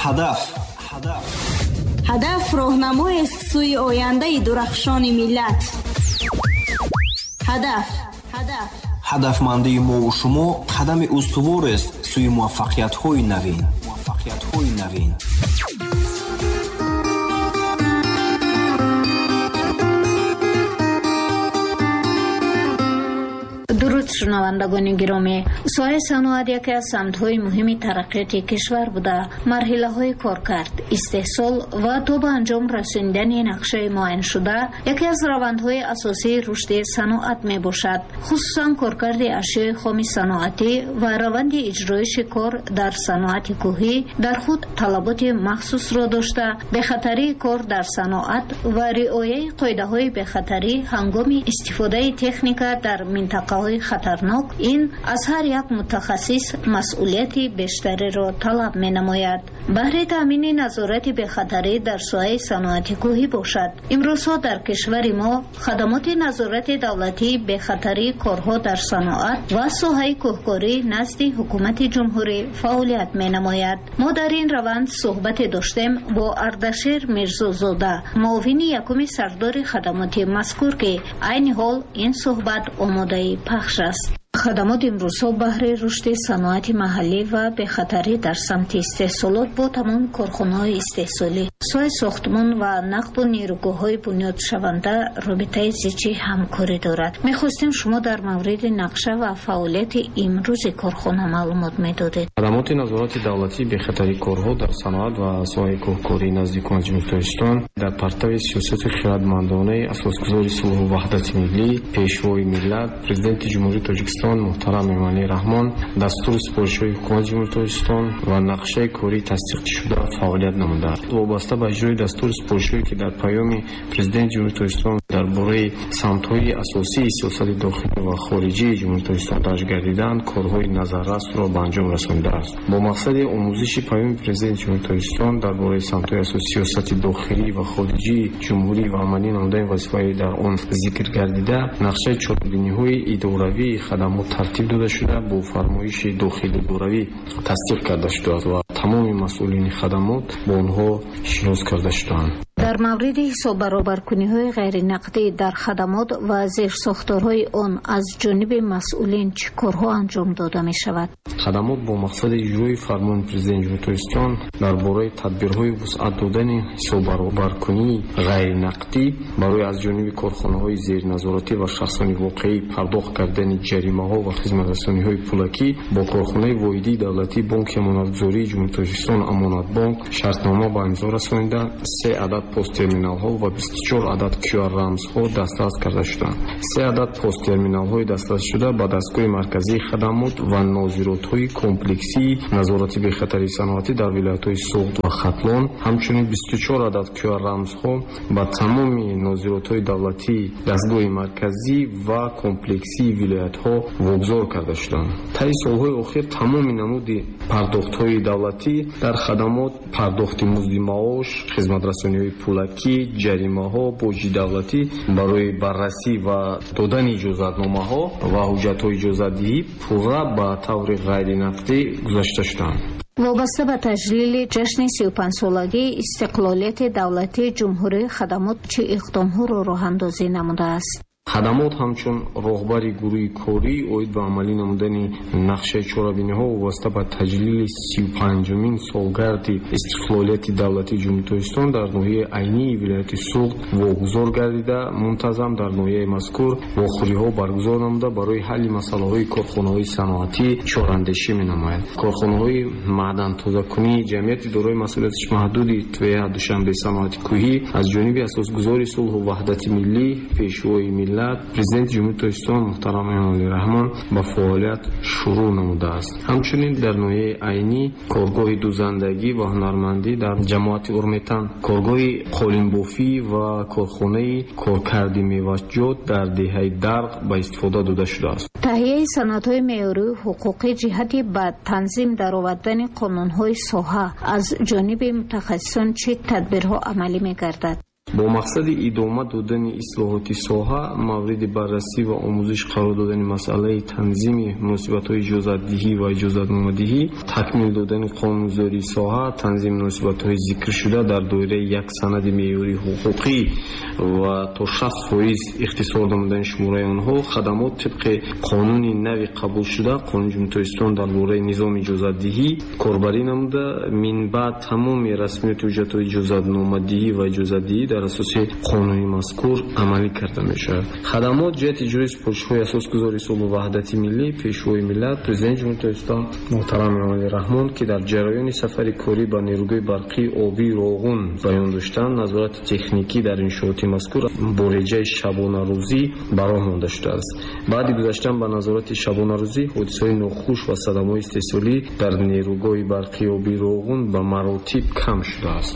Ҳадаф. Ҳадаф роҳнамоест сӯи ояндаи дурахшони миллат. Ҳадаф. Ҳадафмандии мову шумо қадами устуворест сӯи муваффақиятҳои навин. Дуруд, шунавандагони гиромӣ. Соҳаи саноат яке аз самтҳои муҳими тараққиёти кишвар буда, марҳилаҳои коркард, истеҳсол ва то ба анҷом расонидани нақшаи муайяншуда яке аз равандҳои асосии рушди саноат мебошад. Хусусан коркарди ашёи хоми саноатӣ ва раванди иҷроиши кор дар саноати кӯҳӣ дар худ талаботи махсусро дошта, бехатарии кор дар саноат ва риояи қоидаҳои бехатарӣ ҳангоми истифодаи техника дар минтақаҳои хатарнок ин аз ҳар як мутахассис масъулияти бештареро талаб менамояд. Баҳри таъмини назорати бехатарӣ дар соҳаи саноати кӯҳӣ бошад. Имрӯзҳо дар кишвари мо хадамоти назорати давлатии бехатарии корҳо дар саноат ва соҳаи кӯҳкорӣ назди ҳукумати ҷумҳурӣ фаъолият менамояд. Мо дар ин раванд суҳбате доштем бо Ардашер Мирзозода, муовини якуми сардори хадамоти мазкур, ки айни ҳол ин суҳбат омодаи пахш аст. Хадамот имрӯзҳо баҳри рушди саноати маҳаллӣ ва бехатарӣ дар самти истеҳсолот бо тамоми корхонаҳои истеҳсолӣ, соҳаи сохтмон ва нақбу нерӯгоҳҳои бунёдшаванда робитаи зичи ҳамкорӣ дорад. Мехостем шумо дар мавриди нақша ва фаъолияти имрӯзи корхона маълумот медодед. Хадамоти назорати давлатии бехатарии корҳо дар саноат ва соҳаи кӯҳкорӣ назди Ҳукумати Ҷумҳурии Тоҷикистон дар партави сиёсати хирадмандонаи асосгузори сулҳу ваҳдати миллӣ, пешвои миллат, Президенти Ҷумҳурии Тоҷикистон муҳтарам Эмомалӣ Раҳмон, дастуру супоришҳои Ҳукумати Ҷумҳурии Тоҷикистон ва нақшаи корӣ тасдиқшуда фаъолият намудааст. Вобаста ба иҷрои дастуру супоришҳое, ки дар паёми Президенти Ҷумҳурии Тоҷикистон дар бораи самтҳои асосии сиёсати дохилӣ ва хориҷии Ҷумҳурии Тоҷикистон дарҷ гардидаанд, корҳои назаррасро ба анҷом расонидааст. Бо мақсади омӯзиши паёми Президенти Ҷумҳурии Тоҷикистон дар бораи самтҳои асосии сиёсати дохилӣ ва хориҷии ҷумҳурӣ ва амалӣ намудани вазифаҳои дар он зикр гардида, нақшаи чорабиниҳои идоравии хадамот тартиб дода шуда, бо фармоиши дохили идоравӣ тасдиқ карда шудааст ва тамоми масъулини хадамот бо онҳо шинос карда шудаанд. Дар мавриди ҳисоббаробаркуниҳои ғайринақдӣ дар хадамот ва зерсохторҳои он аз ҷониби масъулин чӣ корҳо анҷом дода мешавад? Хадамот бо мақсади иҷрои фармони Президенти Ҷумҳурии Тоҷикистон дар бораи тадбирҳои вусъат додани ҳисоббаробаркунии ғайринақдӣ барои аз ҷониби корхонаҳои зерназоратӣ ва шахсони воқеӣ пардохт кардани ҷаримаҳо ва хизматрасониҳои пулакӣ бо корхонаи воҳидии давлатии Бонки Амонатгузории Ҷумҳурии Тоҷикистон Амонатбонк шартнома ба имзо расонида, 3 адад посттерминалҳо ва 24 адад QR-рамзҳо дастрас карда шуданд. 3 адад посттерминалҳои дастрасшуда ба дастгоҳи марказии хадамот ва нозиротҳои комплексии назорати бехатарии саноатӣ дар вилоятҳои Суғд ва Хатлон, ҳамчунин 24 адад QR-рамзҳо ба тамоми нозиротҳои давлатии дастгоҳи марказӣ ва комплексии вилоятҳо вогузор карда шуданд. Таи солҳои охир тамоми намуди пардохтҳои давлатӣ дар хадамот, пардохти музди маош, хизматрасониҳои пулакӣ, ҷаримаҳо, боҷи давлатӣ барои баррасӣ ва додани иҷозатномаҳо ва ҳуҷҷатҳои иҷозатдиҳӣ пурра ба таври ғайринақдӣ гузашта шуданд. Вобаста ба таҷлили ҷашни 35-солагии истиқлолияти давлатии ҷумҳурии хадамот чӣ иқдомҳоро роҳандозӣ намудааст? Хадамот ҳамчун роҳбари гурӯҳи корӣ оид ба амалӣ намудани нақшаи чорабиниҳо вобаста ба таҷлили 35-умин солгарди истиқлолияти давлатии Ҷумҳурии Тоҷикистон дар ноҳияи Айнии вилояти Суғд вогузор гардида, мунтазам дар ноҳияи мазкур вохӯриҳо баргузор намуда, барои ҳалли масъалаҳои корхонаҳои саноатӣ чораандешӣ менамояд. Корхонаҳои маъдантозакунии ҷамъияти дорои масъулияти маҳдуди ТВА Душанбе саноати кӯҳӣ аз ҷониби асосгузори сулҳу ваҳдати миллӣ, пешвои миллат, Президенти Ҷумҳурии Тоҷикистон муҳтарам Эмомалӣ Раҳмон ба фаъолият шурӯъ намудааст. Ҳамчунин дар ноҳияи Айнӣ коргоҳи дузандагӣ ва ҳунармандӣ дар ҷамоати Урметан, коргоҳи қолинбофӣ ва корхонаи коркарди меваҷот дар деҳаи Дарғ ба истифода дода шудааст. Таҳияи санадҳои меъёрию ҳуқуқӣ ҷиҳати ба танзим даровардани қонунҳои соҳа аз ҷониби мутахассисон чӣ тадбирҳо амалӣ мегардад? Бо мақсади идома додани ислоҳоти соҳа, мавриди баррасӣ ва омӯзиш қарор додани масъалаи танзими муносибатҳои иҷозатдиҳӣ ва иҷозатномадиҳӣ, такмил додани қонунгузории соҳа, танзими муносибатҳои зикршуда дар доираи як санади меъёрии ҳуқуқӣ ва то 60% ихтисор намудани шумораи онҳо, хадамот тибқи қонуни нави қабулшуда, Қонуни Ҷумҳурии Тоҷикистон дар бораи низоми иҷозатдиҳӣ корбарӣ намуда, минбаъд тамоми расмиёти ҳуҷҷатҳои иҷозатномадиҳӣ ва иҷозатдиҳӣ дар асоси қонуни мазкур амалӣ карда мешавад. Хадамот ҷиҳати иҷрои супоришҳои асосгузори сулҳу ваҳдати миллӣ, Пешвои миллат, Президенти Ҷумҳурии Тоҷикистон муҳтарам Эмомалӣ Раҳмон, ки дар ҷараёни сафари корӣ ба нерӯгоҳи барқии обии Роғун баён доштанд, назорати техникӣ дар иншооти мазкур бо реҷаи шабонарӯзӣ ба роҳ монда шудааст. Баъди гузаштан ба назорати шабонарӯзӣ, ҳодисаҳои нохуш ва садамаҳои истеҳсолӣ дар нерӯгоҳи барқии обии Роғун ба маротиб кам шудааст.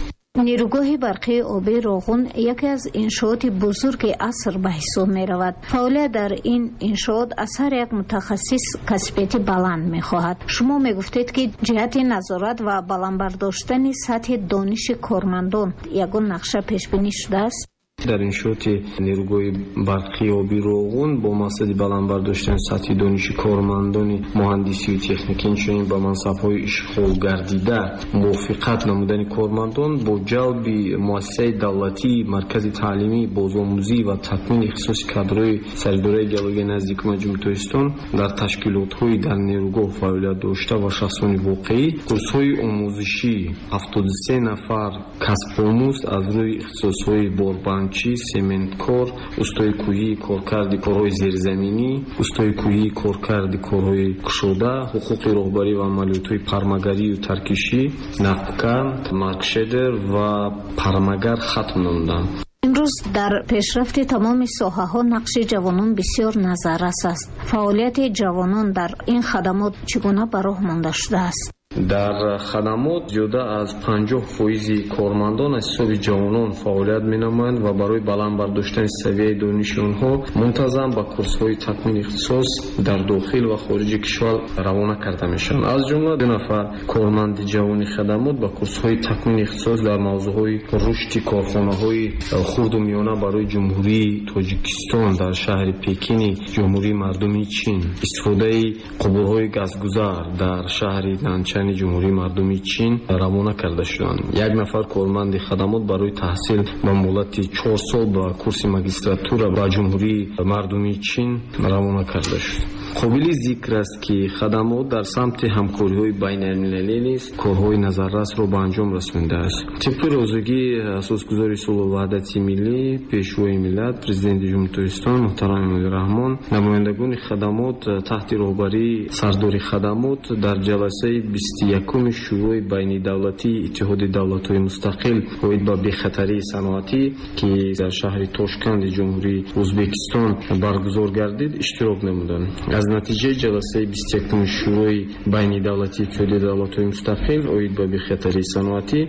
Нерӯгоҳи барқии обии Роғун яке аз иншооти бузурги аср ба ҳисоб меравад. Фаъолият дар ин иншоот аз ҳар як мутахассис касбияти баланд мехоҳад. Шумо мегуфтед, ки ҷиҳати назорат ва баланд бардоштани сатҳи дониши кормандон ягон нақша пешбинӣ шудааст? Дар иншооти нерӯгоҳи барқии обии Роғун бо мақсади баланд бардоштани сатҳи дониши кормандони муҳандисию техникӣ, инчунин ба мансабҳои ишғолгардида мувофиқат намудани кормандон бо ҷалби муассисаи давлатии Маркази таълимӣ, бозомӯзӣ ва такмили ихтисоси кадрҳои Саридораи геологияи назди Ҳукумати Ҷумҳурии Тоҷикистон дар ташкилотҳои дар нерӯгоҳ фаъолият дошта ва шахсони воқеӣ курсҳои омӯзишӣ 73 нафар касбомӯз аз рӯи ихтисосҳои борбанд, сементкор, устои кӯҳии коркарди корҳои зерзаминӣ, устои кӯҳии коркарди корҳои кушода, ҳуқуқи роҳбарӣ ва амалиётҳои пармагарию таркишӣ, нақбкан, маркшедер ва пармагар хатм намуданд. Имрӯз дар пешрафти тамоми соҳаҳо нақши ҷавонон бисёр назаррас аст. Фаъолияти ҷавонон дар ин хадамот чӣ гуна ба роҳ монда шудааст? Дар хадамот зиёда аз 50% кормандон аз ҳисоби ҷавонон фаъолият менамоянд ва барои баланд бардоштани савияи дониши онҳо мунтазам ба курсҳои такмили ихтисос дар дохил ва хориҷи кишвар равона карда мешаванд. Аз ҷумла 2 нафар корманди ҷавони хадамот ба курсҳои такмили ихтисос дар мавзӯъҳои рушди корхонаҳои хурду миёна барои Ҷумҳурии Тоҷикистон дар шаҳри Пекини Ҷумҳурии Мардумии Чин, истифодаи қубурҳои газгузар дар шаҳри Нанчани Ҷумҳурии Мардумии Чин равона карда шуданд. 1 нафар корманди хадамот барои таҳсил ба муҳлати 4 сол ба курси магистратура ба Ҷумҳурии Мардумии Чин равона карда шуд. Қобили зикр аст, ки хадамот дар самти ҳамкориҳои байналмилалӣ низ корҳои назаррасро ба анҷом расонидааст. Тибқи розигии асосгузори сулҳу ваҳдати миллӣ, Пешвои миллат, Президенти Ҷумҳурии Тоҷикистон муҳтарам Эмомалӣ Раҳмон, намояндагони хадамот таҳти роҳбарии сардори хадамот дар ҷаласаи 21-уми Шӯрои байнидавлатии Иттиҳоди давлатҳои мустақил оид ба бехатарии саноатӣ, ки дар шаҳри Тошканди Ҷумҳурии Ӯзбекистон баргузор гардид, иштирок намуданд. Аз натиҷаи ҷаласаи 21-уми Шӯрои байнидавлатии Иттиҳоди давлатҳои мустақил оид ба бехатарии саноатӣ